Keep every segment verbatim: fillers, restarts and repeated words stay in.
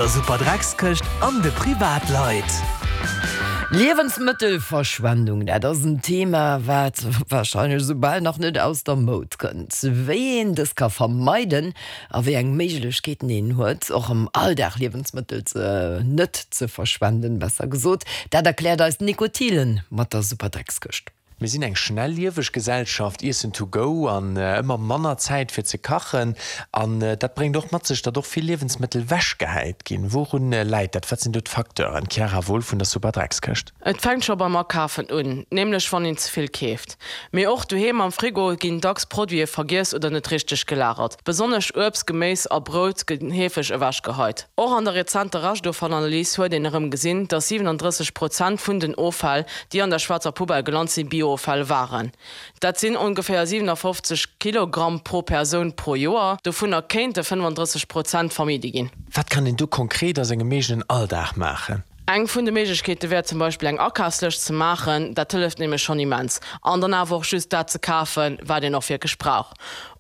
Der Superdreckskëscht an de Privatleit. Liewensmëttelverschwendung, dat ass en Thema, wat warscheinlech esou bal nach net aus der Moud kënnt. Wéi een dës ka vermeiden a wéi eng Méiglechkeeten een huet, och am Alldag Liewensmëttel ze net ze verschwenden, besser gesot, dat erkläert eis d'Nico Thielen mat der Superdreckskëscht. Mir sinn eng schnellieweg Gesellschaft, Iessen to go an ëmmer manner Zäit fir ze kachen. An dat bréngt och mat sech, datt och vill Liewensmëttel wechgehäit ginn. Wourun läit dat? Wat sinn do d'Facteuren? Chiara Wohl vun der Superdreckskëscht. Et fänkt scho beim Akafen un, nämlech wann een ze vill keeft. Mee och doheem am Frigo ginn dacks Produite vergiess oder net richteg gelagert. Besonnesch Uebst, Geméis a Brout gëtt heefeg ewechgeheit. Och an der rezenter Reschtoffallanalys huet een erëm gesinn, datt siwenandrësseg Prozent vun den Offäll, déi an der schwaarzer Poubelle gelant sinn, Biooffäll waren. Dat sinn ongeféier siwenafofzeg Kilogramm pro Persoun pro Joer. Dovunner kéinte fënnefandrësseg Prozent vermidde ginn. Wat kann een do konkret a sengem eegenen Alldag maachen? Eng vun de Méiglechkeete wär zum Beispill eng Akafslëscht ze maachen, dat hëlleft nämlech schonn immens. An dann awer och just dat ze kafen, wat een och wierklech brauch.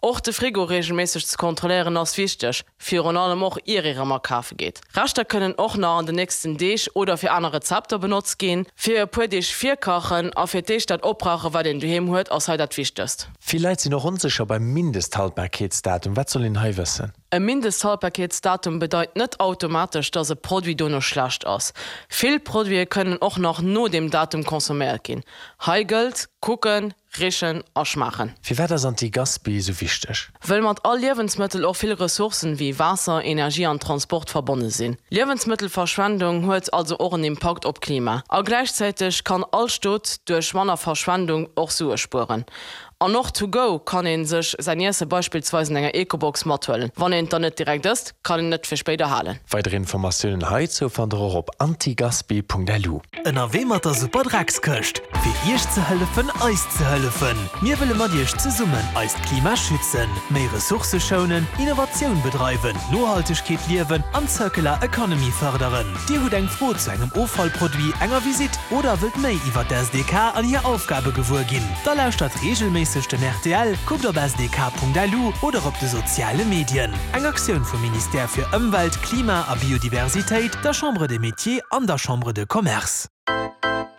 Och de Frigo reegelméisseg ze kontrolléieren ass wichteg, virun allem och ier ee rëm akafe geet. Reschter kënnen och nach an den nächsten Deeg oder fir aner Rezepter benotzt ginn. Fir e puer Deeg virkachen a fir d'éischt dat opbrauchen, wat een doheem huet, ass hei dat Wichtegst. Vill Leit sinn och onsécher beim Mindesthaltbarkeetsdatum. Wat soll een hei wëssen? E Mindesthaltbarkeetsdatum bedeit net automatesch, dass e Produit dono schlecht ass. Vill Produite kënnen och nach no deem Datum consomméiert ginn. Hei gëllt, kucken, richen a schmaachen. Firwat ass Anti-Gaspi esou wichteg? Wëll mat all Liewensmëttel och vill Ressourcen wéi Waasser, Energie an Transport verbonne sinn. Liewensmëttelverschwendung huet also och en Impakt op d'Klima. A gläichzäiteg kann all Stot duerch manner Verschwendung och Sue spueren. An och to go kann ee sech säin Iesse beispillsweis an enger Ecobox mathuelen. Wann een et dann net direkt ësst, kann een et fir spéider halen. Weider Informatiounen heizou fannt der och op antigaspi.lu. Ënnerwee mat der Superdreckskëscht, fir Iech ze hëllefen, eis ze hëllefen. Mir wëlle mat Iech zesummen eist Klima schützen, méi Ressourcë schounen, Innovatioun bedreiwen, Nohaltegkeet liewen an Circular Economy fërderen. Dir hutt eng Fro zu engem Offallproduit, enger Visitt oder wëllt méi iwwer d'S D K an hir Aufgabe gewuer ginn? Da lauschtert reegelméisseg den R T L, kuckt op S D K Punkt L U oder op de soziale Medien. Eng Aktioun vum Ministère fir Ëmwelt, Klima a Biodiversitéit, der Chambre des Métiers an der Chambre de Commerce.